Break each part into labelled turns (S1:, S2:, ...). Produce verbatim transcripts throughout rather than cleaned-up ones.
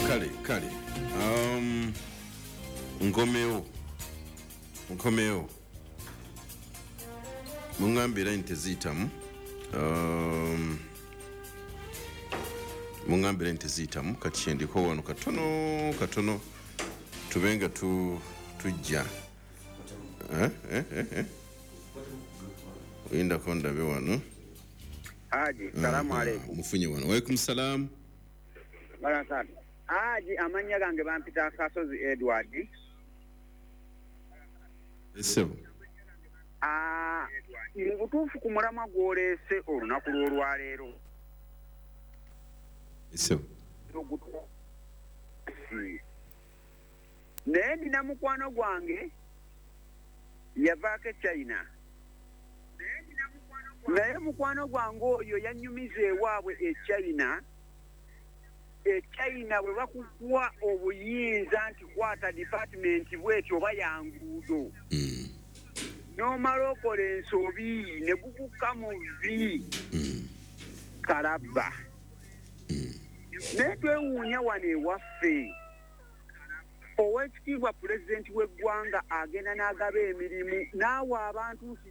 S1: Kale kale, um, nkomewo nkomewo muŋŋambe era nti teziyitamu. um, muŋŋambe era nti teziyitamu. Kati kyendiko wano katono katono tube nga tu, tujja eh, eh, eh, eh. Oyindako ndabe wano.
S2: Haji, salamu aleikum.
S1: Mufunye wano. Waalaikum salamu.
S2: Barakatu. Haji, amannya gange bampita Kasozi Edward.
S1: Esebo.
S2: Ah, mu butuufu ku mulamwa gw'oleese olunaku lw'olwaleero.
S1: Esebo.
S2: Naye nina mukwano gwange yavaako e China. Naye mukwano gwange oyo yannyumiza ewaabwe e China. E China bwe bakukuwa obuyinza nti kwata department bw'etyo oba ya nguudo.
S1: Mm.
S2: N'omala okola ensobi ne gukukka mu vvi.
S1: Mm.
S2: Kalabba.
S1: Mm.
S2: Naye twewuunya wano ewaffe. Oweekitiibwa pulezidenti w'eggwanga agenda n'agaba emirimu n'awa abantu nti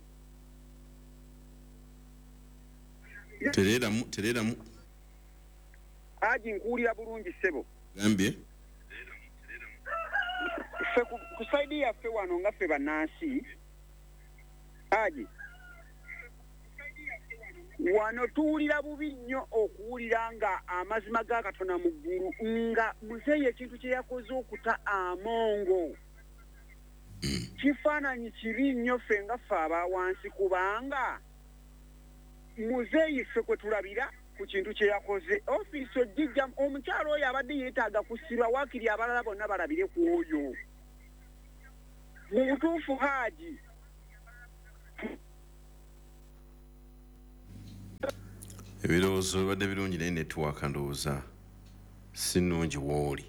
S1: Tereeramu, tereeramu.
S2: Haji, nkuwulira bulungi ssebo.
S1: Gambye.
S2: Ffe ku, ku saidi yaffe wano nga ffe bannansi, Haji, wano tuwulira bubi nnyo okuwulira nga amazima ga Katonda mu ggulu nga muzeeyi ekintu kye yakoze okuta amongo.
S1: Mm.
S2: Kifaananyi kibi nnyo ffe nga ffe aba wansi, kubanga muzeeyi ffe kwe tulabira ku kintu kye yakoze. Ofiisi ogijja omukyalo oyo abadde yeetaaga kusiba, waakiri abalala bonna balabire ku oyo. Mu butuufu Haji,
S1: ebirowoozo bibadde birungi naye netiwaaka ndowooza si nnungi w'oli.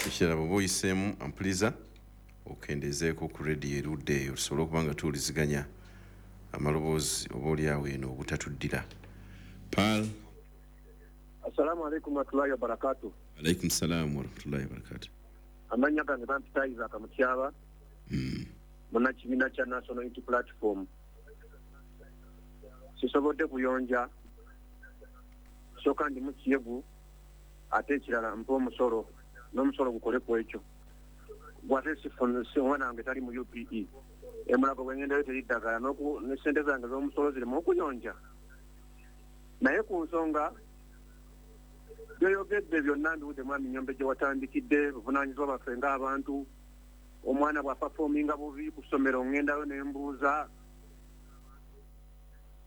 S1: Ekirala bw'oba oyiseemu ampuliza okendeezeeko ku rediyo erudde eyo tusobole okuba nga tuwuliziganya amaloboozi oba oli awo eno obutatuddira. Pal.
S3: Assalamu alaikum warahmatullahi wabarakatuh.
S1: Alaikum salam warahmatullahi wabarakatuh.
S3: Amannya gange bampita Isaac Mutyaba.
S1: Mm.
S3: Munnakibiina kya National Unity Platform. Sisobodde kuyonja, sooka ndi mu Kiyebu, ate ekirala mpa omusolo, n'omusolo gukole ku ekyo. Gwate sifuna si omwana wange tali mu U P E. Emulago bwe ngendayo teri ddagala, n'oku- ne ssente zange z'omusolo zirimu okuyonja. Naye ku nsonga byoyogedde byonna mbiwudde mwami Nnyombe gye watandikidde, buvunaanyizibwa bwaffe ng'abantu. Omwana bw'apafoominga bubi ku ssomero ŋŋendayo ne mbuuza.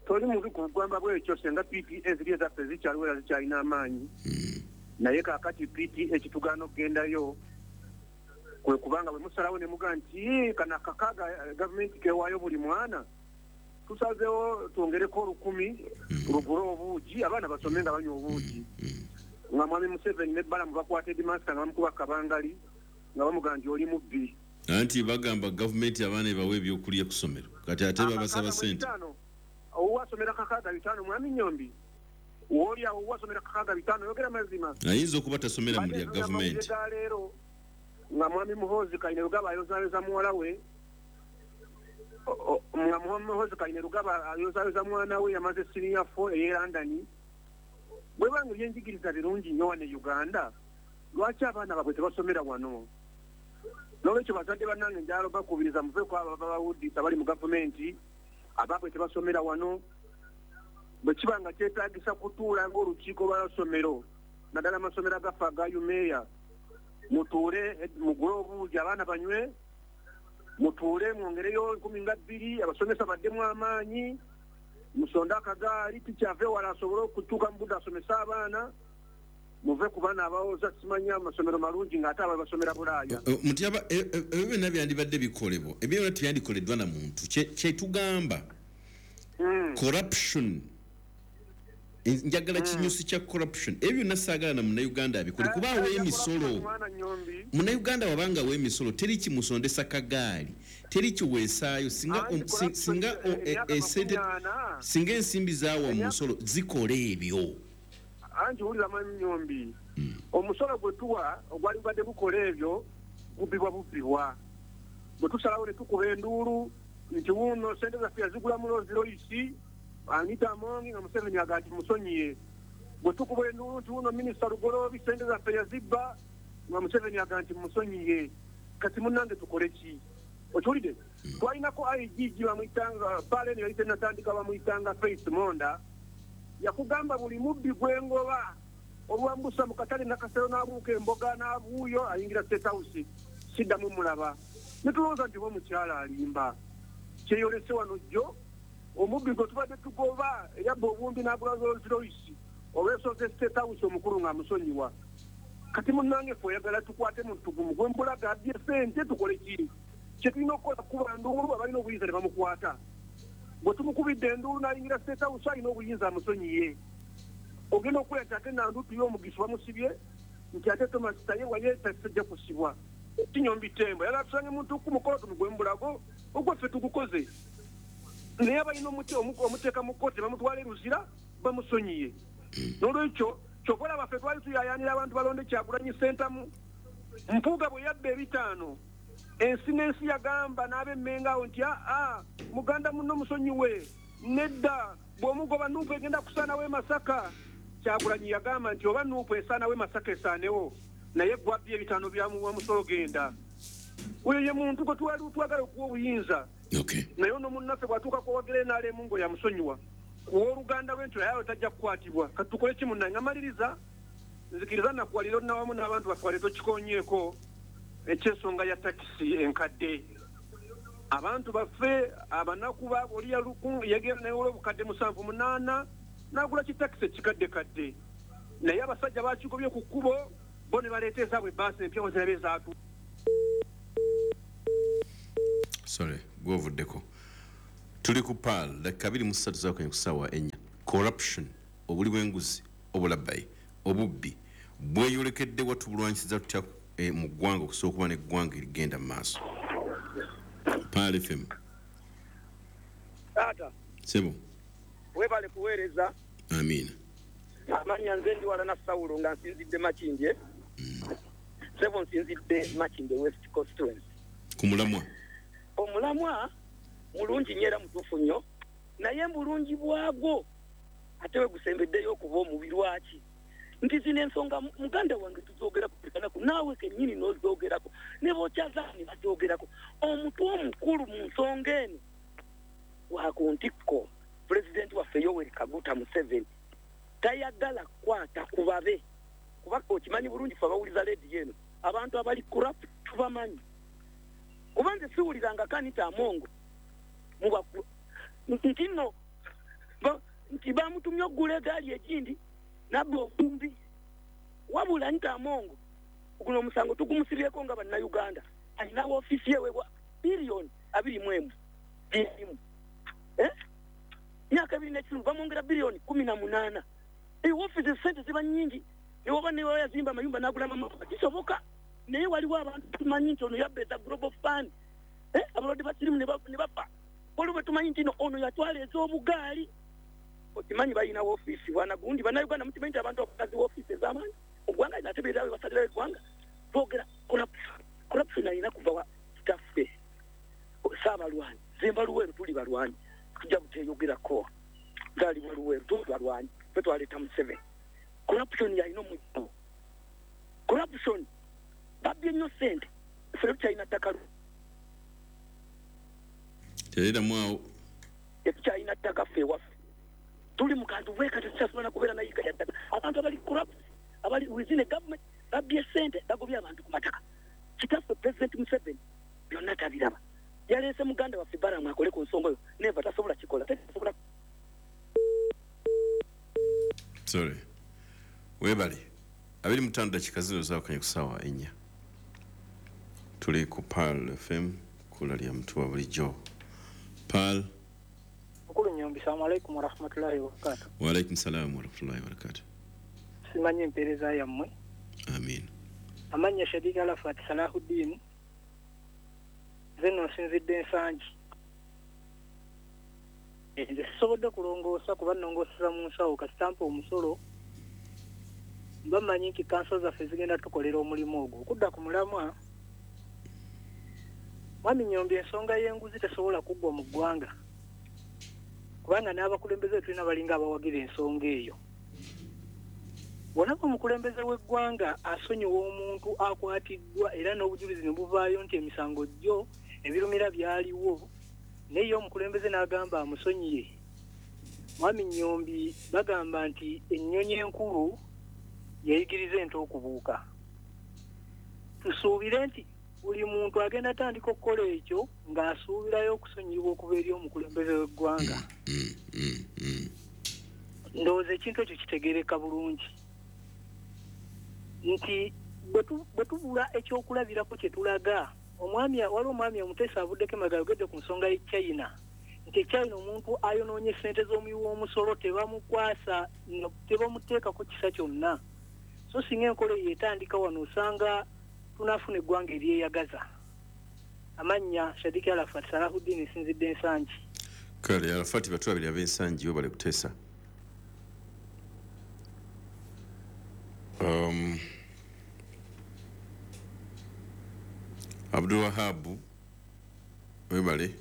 S3: Toli mubi ku bugwamba bw'ekyo senga P T A ziri ezaffe zikyaliwo era zikyalina amaanyi.
S1: Mm.
S3: Naye kaakati P T A kitugaana okugendayo kwe kubanga bwe musalawo ne mugaa nti, kano akakaaga gavumenti keewaayo buli mwana, tusazeewo twongereko olukumi lugule obuugi abaana basome nga banywa obuugi. Nga mwami Museveni ne Balamu bakwata Headmaster nga bamukuba kabangali nga bamugamba nti oli mubbi.
S1: Anti bagamba gavumenti abaana ebawe ebyokulya ku ssomero, kati ate babasaba ssente.
S3: Owasomera kakaaga bitaano mwami Nnyombi, w'oli awo owasomera kakaaga bitaano yogera mazima.
S1: Ayinza okuba tasomera mu lya gavumenti.
S3: Leero nga mwami Muhoozi Kainerugaba ayozaayoza muwala we, nga mwami Muhoozi Kainerugaba ayozaayoza mwana we yamaze senior four ey'e London. Bwe banga ebyenjigiriza birungi nnyo wano e Uganda, lwaki abaana baabwe tebasomera wano? N'olwekyo bazadde bannange njagala obakubiriza muve ku abo ababawuddisa bali mu gavumenti, abaabwe tebasomera wano. Bwe kiba nga kyetaagisa kutuula ng'olukiiko lw'amasomero, naddala amasomero agaffe aga UMEA, mutuule mugule obuugi abaana banywe, mutuule mwongereyo nkumi nga bbiri, abasomesa baddemu amaanyi, musonde akagaali, tikyave wala asobole okutuuka mu budde asomese abaana, muve ku baana abawoza simanya amasomero malungi ng'ate abo basomera Bulaaya.
S1: Mutyaba, ebyo byonna byandibadde bikolebwa, ebyo byonna tebyandikoleddwa na muntu. Kye tugamba corruption, njagala kinyusi kya corruption. Ebyo byonna saagala na Munnayuganda abikole kuba awa emisolo. Munnayuganda wabanga awa emisolo teri kimusondesa kagaali, teri kiweesaayo singa singa esente singa ensimbi zaawa mu musolo zikola ebyo.
S3: Anti wulira mwami Nnyombi, Omusolo gwe tuwa ogwali gubadde gukola ebyo gubbibwa bubbibwa. Bwe tusalawo ne tukuba enduulu nti wuno sente zaffe yazigula mu Rolls Royce, Anita Among nga Museveni agamba nti musonyiye. Bwe tukuba enduulu nti wuno Minisita Lugoloobi sente zaffe yazibba nga Museveni agamba nti musonyiye. Kati munnange tukole ki? Okiwulidde? Twalinako I G G bamuyitanga pale eno yali tennatandika, bamuyitanga Faith Monda, yakugamba buli mubbi gwengoba olwambusa mu katale Nakasero n'abuuka emboga n'abuuyo ayingira State House siddamu mulaba. Ne tulowooza nti oba omukyala alimba. Kyeyolese wano jjo omubbi gwe tubadde tugoba eyabba obuwumbi n'agula Rolls Royce olw'esoose State House omukulu ng'amusonyiwa. Kati munnange ffe oyagala tukwate muntu gumu gwe mbulaga abbye ssente tukole ki? Kye tulina okukola kuba nduulu abalina obuyinza ne bamukwata. Bwe tumukubidde enduulu n'ayingira State House alina obuyinza amusonyiye. Ogenda okulya nti ate Nandutu y'omugisu bamusibye nti ate Thomas Tayebwa ye tajja kusibwa. Kinyombi Tembo yagala tusange muntu ku mukolo tumugwe mbulago ogwo ffe tugukoze. Naye abalina omuteeka mu kkooti bamutwala e Luzira bamusonyiye. N'olwekyo ky'okola baffe twali tuyayaanira abantu balonde Kyagulanyi Ssentamu. Mpuuga bwe yabba ebitaano ensi n'ensi yagamba n'ab'Emmengo awo nti aa muganda munno musonyiwe nedda bw'omugoba Nuupu egenda kusaanawo e Masaka. Kyagulanyi yagamba nti oba Nuupu esaanawo e Masaka esaanewo naye gwabbye ebitaano bya musolo genda. Oyo ye muntu gwe twali twagala okuwa obuyinza. Naye ono munnaffe bw'atuuka kuwagira N R M ngo yamusonyiwa. Ku w'oluganda lwe nti naye tajja kukwatibwa. Kati tukole ki munnange? Amaliriza nzikiriza nakuwalira nawamu n'abantu baffe wale tokikonyeeko eky'ensonga ya takisi enkadde. Abantu baffe abanaku baabo oli yagenda naye obukadde musanvu munaana n'agula kitakisi ekikadde kadde. Naye abasajja bakigobye ku kkubo bo ne baleeta ezaabwe ebbaasi empya wazirabe ezaatu.
S1: Sorry, gwovuddeko. Tuli ku Pearl, dakika abiri mu ssatu zaakanye ku ssaawa ennya. Corruption, obuli bw'enguzi, obulabbayi, obubbi bweyolekedde wa tubulwanyisiza tutya mu ggwanga okusobola okuba n'eggwanga erigenda mu maaso. Pearl F M.
S4: Taata.
S1: Sebo.
S4: Webale kuweereza.
S1: Amiina.
S4: Amannya nze ndi wala na Sawulo nga nsinzidde Makindye. Sebo nsinzidde Makindye West Constituency.
S1: Ku mulamwa.
S4: Omulamwa mulungi nnyo era mutuufu nnyo, naye mulungi bwagwo ate we gusembeddeyo okuba omubi. Lwaki? Nti zino ensonga muganda wange tuzoogerako buli kanaku, naawe kennyini n'ozoogerako, ne b'okyazaala ne bazoogerako. Omutwe omukulu mu nsonga eno wa ku ntikko, pulezidenti waffe Yoweri Kaguta Museveni tayagala kukwata ku babe, kuba okimanyi bulungi ffe abawuliza leediyo eno abantu abali corrupt tubamanyi. Kuba nze siwuliranga Anita Among nti nno nti bamutumye okugula egaali egindi nabba obumbi. Wabula Anita Among guno omusango tugumusibyeko nga bannayuganda, alina woofiisi eweebwa biliyoni abiri mu emu emu myaka ebiri n'ekitundu bamwongera biliyoni kumi na munaana. Ewoofiisi sente ziba nnyingi, newoba newa yazimba amayumba n'agula amamotoka kisoboka, naye waliwo abantu tumanyi nti ono yabba eza Global Fund, abalwadde ba sirimu ne bafa. Waliwo bwe tumanyi nti ono yatwala ez'obugaali. Okimanyi balina woofiisi bwana gundi bannayuganda mukimanyi nti abantu abakazi woofiisi ez'amaanyi mu ggwanga lino ate beerawe basalirawo eggwanga. Twogera corruption, corruption alina kuva wa kitaffe Ssaabalwanyi Zemba Luweero, tuli balwanyi tujja buteeyogerako nzaalibwa Luweero, tuli balwanyi ffe twaleeta Museveni. Corruption yalina omujjuo. Corruption babbye nnyo ssente, ffe tukyalina ttaka
S1: tereramu awo,
S4: tetukyalina ttaka ffe ewaffe. Tuli mu kantu bweka tetukyasobola kubeera nayiga ya ttaka. Abantu abali corrupt abali within a government babbye ssente bagobye abantu ku mataka. Kitaffe President Museveni byonna tabiraba. Yaleese muganda waffe Balamu akole ku nsonga yo, neva tasobola kikola, tasobola.
S1: Sorry. Webale. Abiri mu ttaano dakika zino zaakanye ku ssaawa ennya. Tuli ku Pearl F M, kkula lya mutuwa bulijjo. Pearl.
S5: Mukulu Nyombi, assalamu alaikum warahmatullahi wabarakatuh.
S1: Wa alaikum salaam warahmatullahi wabarakatuh.
S5: Simanyi empeereza yammwe.
S1: Amiina.
S5: Amannya Shadika Arafat Salahuddin. Nze nno nsinzidde Nsangi. Nze sisobodde kulongoosa kuba nnongooseza mu nsawo kasita mpa omusolo Mbamanyi nti kanso zaffe zigenda tukolera omulimu ogwo. Okudda ku mulamwa, Mwami Nyombi, ensonga y'enguzi tesobola kuggwa mu ggwanga, kubanga n'abakulembeze tulina balinga abawagira ensonga eyo. Bw'olaba omukulembeze w'eggwanga asonyiwa omuntu akwatiddwa era n'obujulizi ne buvaayo nti emisango gyo ebirumira byaliwo, naye ye omukulembeze n'agamba amusonyiye. Mwami Nyombi, bagamba nti ennyonyi enkulu yeyigiriza ente okubuuka. Tusuubire nti buli muntu agenda atandika okukola ekyo ng'asuubirayo okusonyiyibwa okuva eri omukulembeze w'eggwanga.
S1: Mm, mm, mm.
S5: Ndowooza ekintu ekyo kitegeereka bulungi nti bwe tu- bwe tubula ekyokulabirako kye tulaga. Omwami, waliwo omwami omuteesa avuddeko emabega ayogedde ku nsonga y'e China, nti e China omuntu ayonoonye ssente z'omuwi w'omusolo tebamukwasa, no- tebamuteekako kisa kyonna. So singa enkola eyo etandika wano, osanga tunaafuna eggwanga eryeyagaza. Amannya Shadiki Arafat Salahuddin, nsinzidde Ensangi.
S1: Kale Arafati, batulabiri ab'Ensangi, webale kuteesa. um, abdul Wahabu, webale.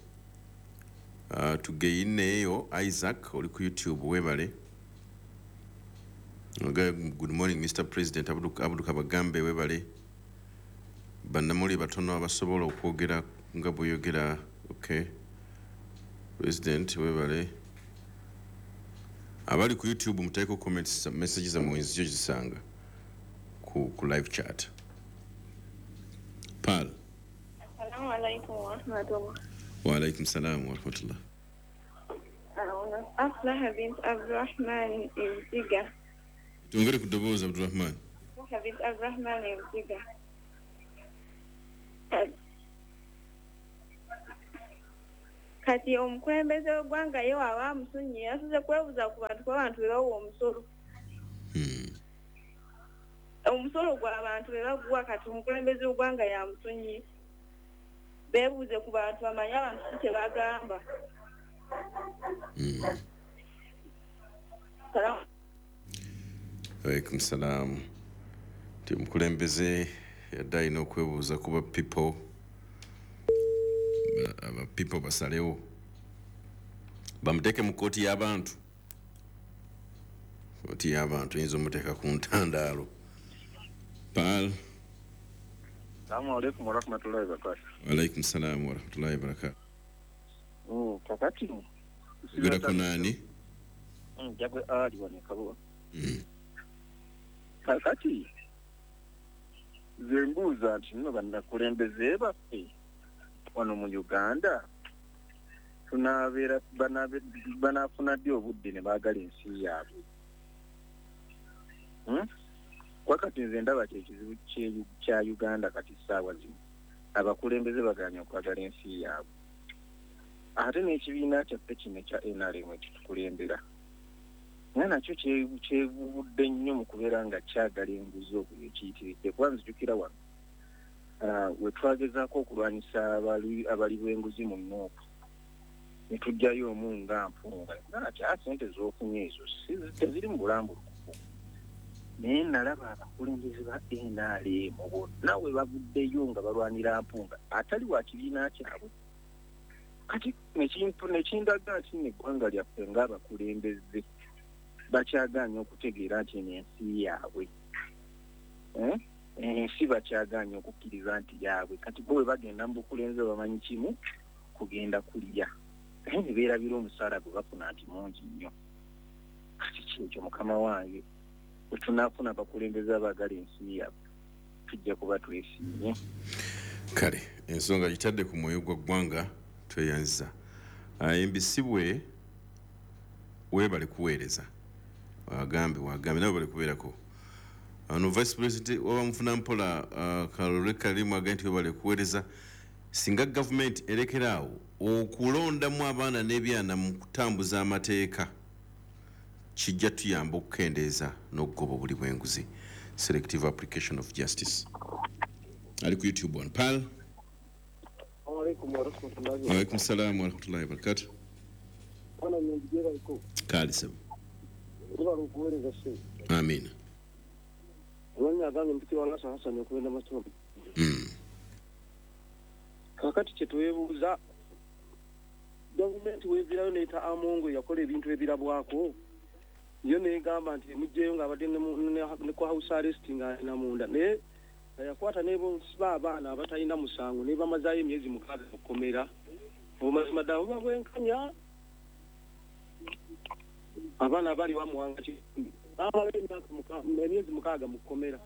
S1: uh, tugeyineeyo Isaac oli ku YouTube, webale. Okay, good morning Mister President. Abdu, Abdu Kabagambe, webale. Bannamuli batono abasobola okwogera nga bweyogera. Okay, President, webale. Abali ku YouTube muteeko comments, messages zammwe nzijjo zisanga ku, ku live chat. Pal.
S6: Assalamu alaikum warahmatullah.
S1: Wa alaikum salam wa rahmatullah.
S6: Aflaha bint Abdurrahman Ibziga.
S1: Tuongere ku ddoboozi, Abdurrahman.
S6: Aflaha bint Abdurrahman Ibziga. Kati omukulembeze w'eggwanga ye waaba amusonyiye, yasuze kwebuuza ku bantu, kuba abantu be bawa omusolo.
S1: Hmm.
S6: Omusolo gw'abantu be baguwa, kati omukulembeze w'eggwanga yamusonyiye. Beebuuze ku bantu bamanye abantu ki kye bagamba.
S1: Hmm.
S6: Salamu.
S1: Alaikum salam. Nti omukulembeze yadde alina okwebuuza kuba people, ba- aba people basalewo bamuteeke mu kooti y'abantu. Kooti y'abantu eyinza omuteeka ku ntandaalo. Pal.
S3: Assalamu alaikum warahmatullahi wabarakatuh.
S1: Alaikum salam warahmatullahi wabarakatuh.
S3: Mm, kakati
S1: ogerako naani?
S3: Njagwe ali wano Kabuga.
S1: Mm.
S3: Kakati nze mbuuza nti nno bannakulembeze baffe wano mu Uganda tunaabeera banaabe- banaafuna ddi obudde ne baagala ensi yaabwe? Hmm? Kuba kati nze ndaba kyekizibu kye- kya Uganda kati ssaawa zino, abakulembeze bagaanye okwagala ensi yaabwe, ate n'ekibiina kyaffe kino ekya N R M ekitukulembera nga nakyo kye- kyevubudde nnyo mu kubeera nga kyagala enguzi okwo ekiyitiridde. Kuba nzijukira wano ah, we twagezaako okulwanyisa abali abali b'enguzi mu Nuupu, ne tuggyayo omu nga Mpunga, nga kya sente z'ofunye ezo si- teziri mu bulambulukufu. Naye nalaba abakulembeze ba N R M bonna we bavuddeyo nga balwanira Mpunga atali wa kibiina kyabwe. Kati nekintu nekindaga nti nno eggwanga lyaffe ng'abakulembeze bakyagaanye okutegeera nti eno ensi yaabwe. Eh? Ensi bakyagaanye okukkiriza nti yaabwe. Kati bo bwe bagenda mu bukulembeze bamanyi kimu, kugenda kulya, naye ne beerabira omusaala gwe bafuna nti mungi nnyo. Kati kyekyo mukama wange, bwe tunaafuna abakulembeze abaagala ensi yaabwe tujja kuba twesiimye.
S1: Kale ensonga gitadde ku mwoyo gwa ggwanga, tweyanziza. Embisibwe, weebale kuweereza. Wagambe wagambe nawe bali kubeerako ano. Vice President waba mufuna mpola uh, Kalole Kalimu agambye nti webale kuweereza. Singa gavumenti erekeraawo okulondamu abaana n'ebyana mu kutambuza amateeka, kijja tuyamba okukendeeza n'okugoba obuli bw'enguzi, selective application of justice. Ali ku YouTube wano pal.
S7: Alaikum warahmatullahi.
S1: Waalaikum salamu warahmatullahi wabarakatu.
S7: Bwana Nyombi, baliko.
S1: Kale sebo.
S7: Webale okuweereza ssebo.
S1: Amina.
S7: Amanya agange mpitibwa Lasa Hassan okugenda masoma.
S1: Mm.
S7: Kakati kye twebuuza, gavumenti weevirayo n'eyita Amongo yakola ebintu ebirabwako, yo n'egamba nti emuggyeyo ng'abadde ne ku house arrest ng'alina munda, naye yakwata n'ebosiba abaana abatalina musango ne bamazaayo emyezi mukaaga mu kkomera. Obumazima ddala buba bwenkanya? Abaana abali bamuwanga kitumbi bamala emyezi mukaaga mu kkomera,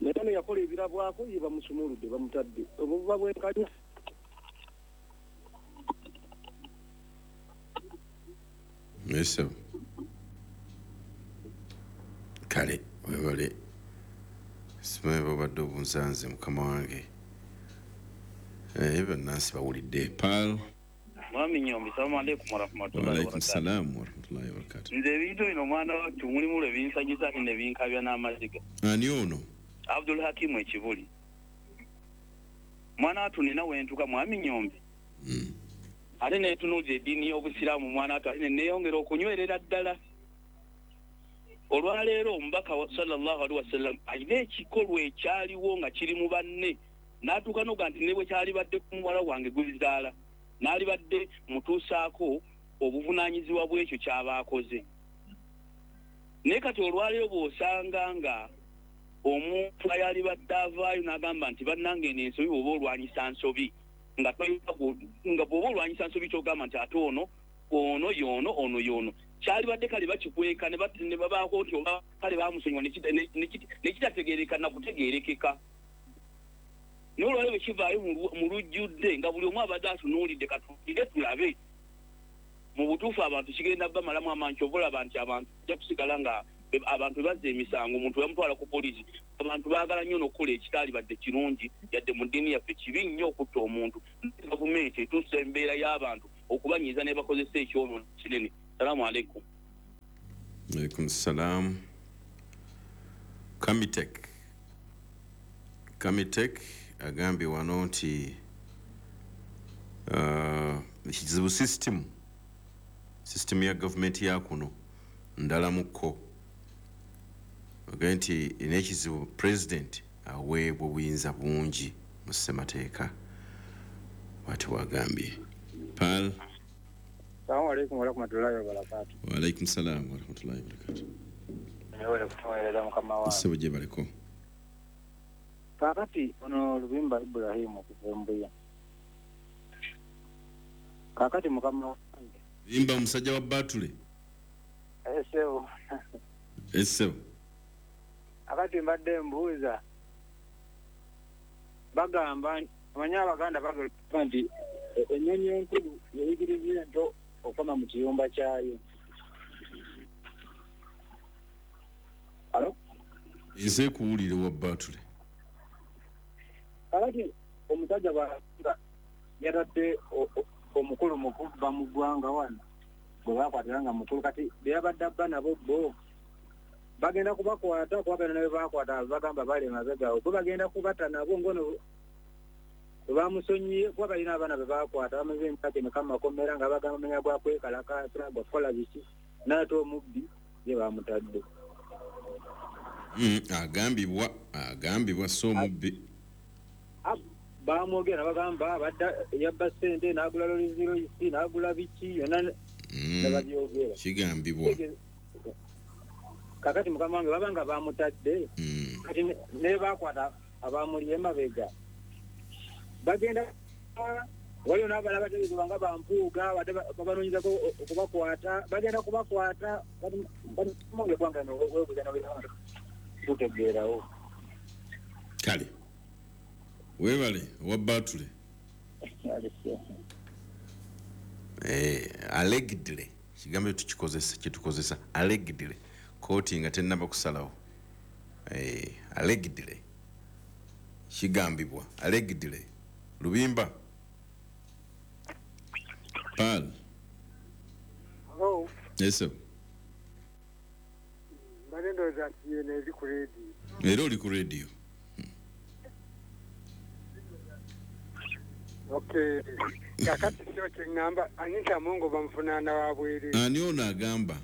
S7: naye ono yakola ebirabwako ye bamusumuludde bamutadde. Obwo buba bwenkanya?
S1: Yes, kale webale, simanyi babadde obunsanze mukama wange. Eh, bannansi bawulidde. Paul
S8: Mwami Nyombi, salamu alaikum warahmatullahi
S1: waalaikum
S8: wabarakatuh.
S1: Salaamu warahmatullahi wabarakatuh.
S8: Nze ebintu bino omwana wattu mulimu lwe binsanyusa ate ne binkabya n'amaziga.
S1: Ani ono?
S8: Abdul Hakimu Ekibuli. Mwana wattu nina wentuka Mwami Nyombi.
S1: Mm.
S8: Ate neetunuuza eddiini y'Obusiraamu mwana wattu, ate ne neeyongera okunywerera ddala. Olwaleero omubaka wa sallallahu alaihi wasallam alina ekikolwa ekyaliwo nga kiri mu banne, n'atuuka n'oga nti ne bwe kyalibadde ku muwala wange gubizaala, n'alibadde mutuusaako obuvunaanyizibwa bw'ekyo ky'aba akoze. Naye kati olwaleero bw'osanga nga omuntu ayalibadde avaayo n'agamba nti bannange eno ensobi bw'oba olwanyisa nsobi, nga toyina nga bw'oba olwanyisa nsobi ky'ogamba nti ate ono ono y'ono ono y'ono, kyalibadde kale bakikweka ne bat- ne babaako nti oba kale baamusonyiwa ne kita- ne- ne kita- ne kitategeereka na kutegeerekeka. Naye olwaleero bwe kivaayo mu lu- mu lujjudde nga buli omu abadde atunuulidde, katuulire tulabe mu butuufu abantu kigenda bamalamu amaanyi. Kyova olaba nti abantu bajja kusigala nga be- abantu bazza emisango, omuntu bamutwala ku poliisi. Abantu baagala nnyo n'okukola ekitaalibadde kirungi, yadde mu ddiini yaffe kibi nnyo okutta omuntu. Gavumenti etuusa embeera y'abantu okubanyiiza ne bakozesa ekyonoono kinene. Salaamu alaikum.
S1: Alaikum salam. Kamitek Kamitek agambye wano nti uh, ekizibu system system ya gavumenti ya kuno ndalamuko, agambye nti n'ekizibu president aweebwa obuyinza bungi mu ssemateeka, bw'atyo bw'agambye. Paul.
S7: Salamu alaikum warahmatullahi wabarakatuh.
S1: Waalaikum salam warahmatullahi wabarakatuh.
S7: Mwewale kutuweereza mukama wange.
S1: Ssebo gye baleko.
S7: Kaakati ono Lubimba Ibrahim okuva e Mbuya. Kaakati mukama wange.
S1: Lubimba omusajja wa Batule.
S7: Ssebo.
S1: Ssebo.
S7: Akati mbadde mbuuza, bagamba omanyi Abaganda bagamba nti ennyonyi enkulu yeyigiriza ento okukoma mu kiyumba kyayo. Alo?
S1: Nze kuwulira wa Batule.
S7: Kakati omusajja bw'anga yatadde omukulu mu kubba mu ggwanga wano gwe baakwatira nga mukulu, kati be yabadde abba nabo bo bagenda kubakwata, kuba bano ne be baakwata bagamba bali emabega awo, bo bagenda kubata nabo ngono bwe bamusonyiye, kuba balina abaana be baakwata bamaze emyaka emeka mu makomera nga bagamba menya gwa kwekalakaasa gwa kukola biki, n'ate omubbi ye baamutadde.
S1: Mm, agambibwa agambibwa so omubbi
S7: Bamwogera bagamba abadde yabba ssente n'agula Rolls Royce n'agula biki yonna
S1: Mm,
S7: ne babyogera.
S1: Kigambibwa.
S7: Kakati mukama wange baba nga bamutadde,
S1: Mm.
S7: kati ne- ne baakwata abamuli emabega bagenda waliwo n'abalala bategeezebwa nga bampuuga badde babanoonyezako okubakwata, bagenda kubakwata. Kati mukama wange eggwanga lino weebuuza n'obeera tutegeerawo.
S1: Kale weebale owa Batule. Eh, allegedly kigambo tukikozesa kyetukozesa allegedly, kooti nga tennaba kusalawo. Eh, allegedly kigambibwa allegedly. Lubimba Paul.
S3: Hello.
S1: Yes sir.
S3: Mbadde ndowooza nti yeno eri ku leediyo.
S1: Era oli ku leediyo.
S3: Okay. Kakati kyo kye ŋŋamba, Anita Amongo bamuvunaana wa bwereere.
S1: Ani ono agamba?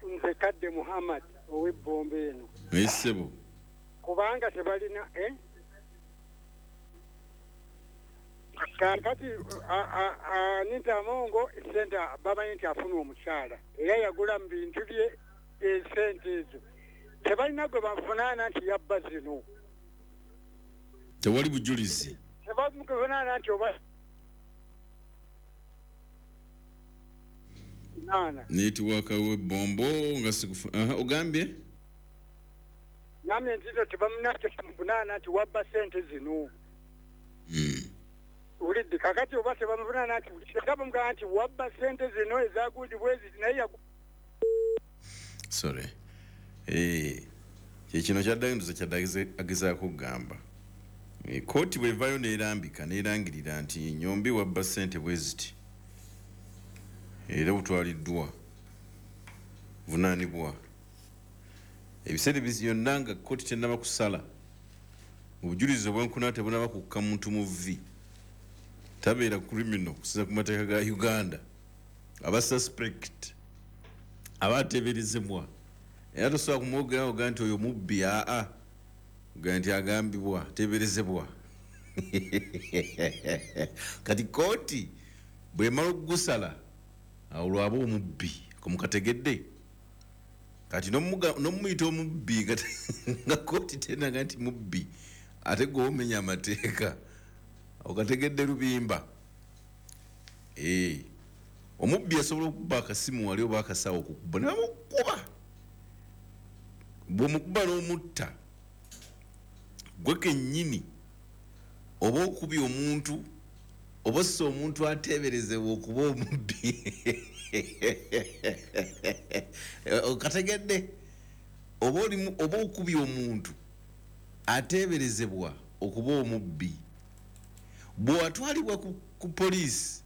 S3: Nze Kadde Muhammad ow'ebbombe eno.
S1: Ssebo.
S9: Kubanga tebalina eh? Kakati Anita Amongo sente bamanyi nti afuna omukyala era yagula mu bintu bye esente ezo tebalina gwe bavunaana nti yabba zino.
S1: Tewali bujulizi.
S9: Tebamuvunaana nti oba nana.
S1: Netiwaka we bombo nga sikufu. Aha, ogambye?
S9: Namye nti tebamuvunaana nti wabba sente zino.
S1: Mm.
S9: Ulidde kakati oba tebamuvunaana nti tebamugamba nti wabba sente zino ezagundi bwezi naye.
S1: Sorry. Eh, kino kyaddayo kyaddayo agezaako kugamba. Kooti bw'evaayo n'erambika n'erangirira nti Nyombi wabba ssente bwe ziti era butwaliddwa vunaanibwa. Ebiseera byonna nga kkooti tennaba kusala, obujulizi obwenkuna tebunaba kukka muntu mu vvi, tabeera criminal kusinziira ku mateeka ga Uganda, aba suspect aba ateeberezebwa. Era tosobola kumwogerawo ogaa nti oyo mubbi, aa ogaa nti agambibwa ateeberezebwa. Kati kooti bw'emala okugusala awo lwaba omubbi komukategedde. Kati n'omuyita omubbi nga kooti tenaga nti mubbi ate gwe omenya amateeka okategedde lubimba. Eh, omubbi asobola okukuba akasimu wali oba akasawo okukuba ne bamukuba. Bw'omukuba n'omutta gwe kennyini oba okubye omuntu oba ossa omuntu ateeberezebwa okuba omubbi. Okategedde oba oba okubye omuntu ateeberezebwa okuba omubbi, bw'atwalibwa ku, ku poliisi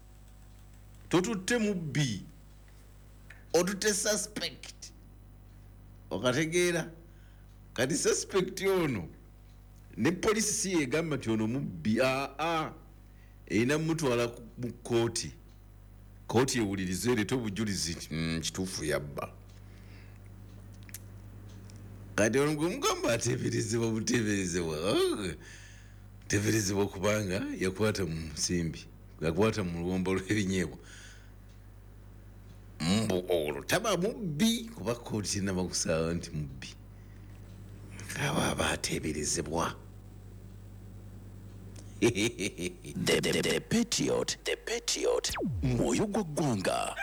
S1: totutte mubbi, otutte suspect. Okategeera? Kati suspect ono ne poliisi si yegamba nti ono mubbi, aa erina mutwala mu kkooti, kkooti ewulirize ereete obujulizi nti mm, kituufu yabba. Kati ono gwe mugamba ateeberezebwa buteeberezebwa, teeberezebwa kubanga yakwata mu nsimbi, yakwata mu luwombo lw'ebinyeebwa. Mbu olwo taba mubbi kuba kkooti tennaba kusala nti mubbi, aba aba ateeberezebwa.
S10: The, the, the Patriot, the Patriot, mwoyo gwa ggwanga.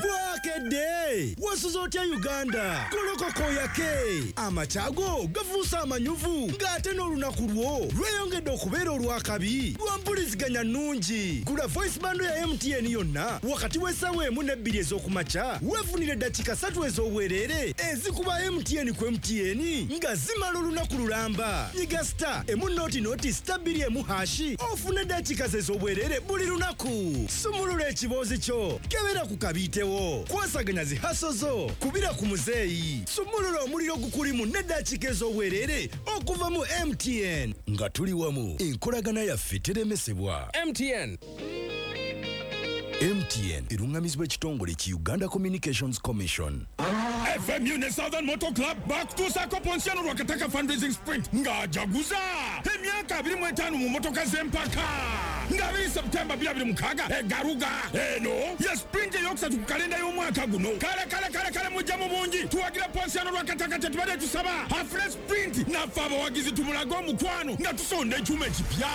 S11: Bwakedde wasuze otya Uganda golokoko yake amakyago gafuuse amanyuvu ng'ate n'olunaku lwo lweyongedde okubeera olwakabi lwa mpuliziganya nnungi. Gula voice bando ya M T N yonna wakati w'essaawa emu n'ebbiri ez'okumakya weefunire eddakiika ssatu ez'obwereere ezikuba M T N ku M T N nga zimala olunaku lulamba. Nyiga star emu noti noti star bbiri emu hashi ofune eddakiika ez'obwereere buli lunaku. Sumulula ekiboozi kyo kebera ku kabiite kwasaganya zihaso zo kubira ku muzeeyi sumulula omuliro gukulimu n'eddakiika ez'obwereere okuva mu M T N nga tuli wamu enkolagana yaffe teremesebwa.
S12: M T N.
S11: M T N erungamizibwa ekitongole ki Uganda Communications Commission.
S13: F M U ne Southern Motor Club bakutuusaako Ponsiano Lwakataka fundraising sprint ng'ajaguza emyaka abiri mu etaano mu motoka z'empaka nga abiri September bibiri abiri mukaaga egaruga eno ye sprint eyokusatu ku kalenda y'omwaka guno. Kale kale kale kale mujja mu bungi tuwagira Ponsiano Lwakataka tetubadde tusaba afune sprint naffe abawagizi tumulage omukwano nga tusonda ekyuma ekipya.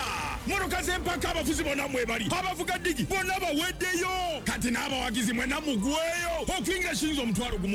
S13: Motoka z'empaka abafuzi bonna mwebali abavuga ddigi bonna baweddeyo kati n'abawagizi mwenna mugweyo okuyingira shiyinza omutwalo gumu.